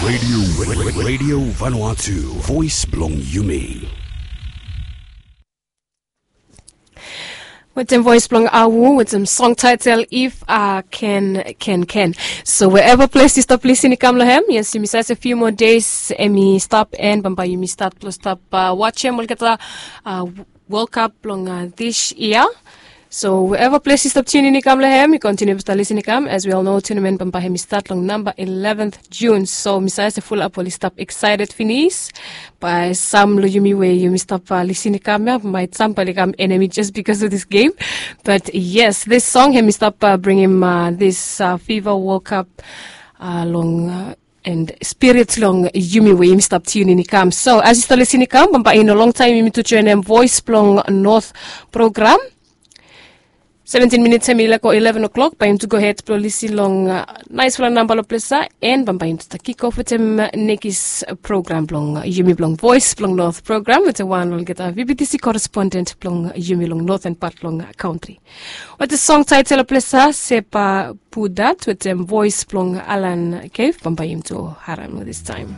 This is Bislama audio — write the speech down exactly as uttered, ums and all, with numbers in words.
Radio, Radio Vanuatu, voice blong Yumi. Wetem voice blong Awu, wetem song title If I Can, Can, Can. So wherever place yu stap lisin i kam long hem, yes, yumi save se few more days, em i stap, and bambae yumi start blong stap uh, watch em olgeta uh, World Cup blong uh, this year. So wherever place yu stap tune in i kam long hem, yu continue stap lisin i kam. As we all know, tournament bambae hem i start long number eleventh June. So mi save se full up oli stap excited finis. Bae sam long yumi we yumi stap uh, lisin i kam ya, might sam bali kam enemy just because of this game. But yes, this song hem i stap uh, bring him uh, this uh, FIFA World Cup uh, long uh, and spirit long yumi we yumi stap tune in i kam. So as yu stap lisin i kam, bambae i no long time yumi tu join em voice blong North program. Seventeen minutes hem i lako eleven o'clock, bae yumi tu go ahead blong lisin long uh, nice fala namba long plesa, and bambae yumi tu stap kick off wetem uh, nekis program blong uh, yumi blong voice blong North program wetem wan olgeta V B T C correspondent blong uh, yumi long northern part long uh, country. Wetem song title plesa Sepa Pudat wetem voice blong Alan Cave, bambae yumi tu harem this time.